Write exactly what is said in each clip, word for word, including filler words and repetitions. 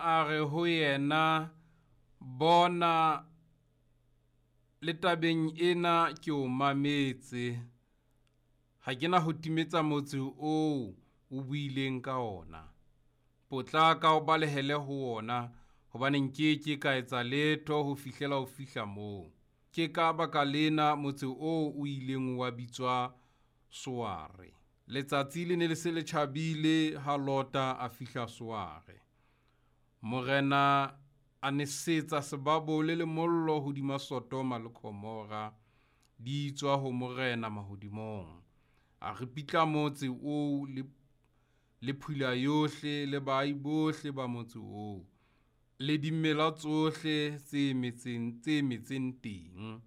A re ho yena, Bona, le tabeng ena ke o mametse, ha ke na ho timetsa motse oo o buileng ka ona. Potlaka o balehele ho wona, hobane nke ke ka etsa letho ho fihlela o fihla moo. Ke ka baka lena motse oo o ileng wa bitswa Soare. Letsatsi le ne le se le tjhabile ha Lota a fihla Soare. Morena a nesetsa sebabole le mollo hodima Sodoma le Gomora, di tswa ho Morena mahodimong. A ripitla motse oo le, le phula yohle le baahi bohle ba motse oo, le dimela tsohle tse metseng, tse metseng teng.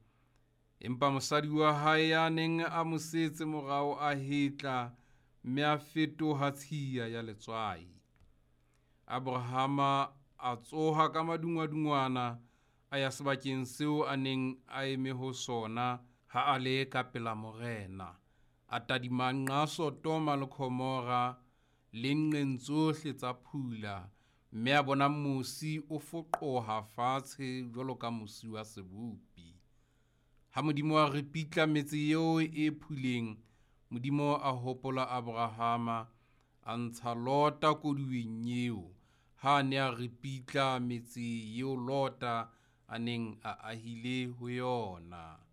Empa mosadi wa hae ya neng a mo setse morao a hetla, mme a fetoha tshiya ya letswai. Abrahama a tsoha ka madungwadungwana, a ya sebakeng seo a neng a eme ho sona ha a le ka pela Morena. A tadima nqa Sodoma le Gomora le nqeng tsohle tsa phula, mme a bona mosi o foqoha fatshe jwalo ka mosi wa sebopi. Ha Modimo a ripitla metse eo e phuleng, Modimo a hopola Abrahama, a ntsha Lota koduweng eo, ha a ne a ripitla metse eo Lota a neng a ahile ho yona.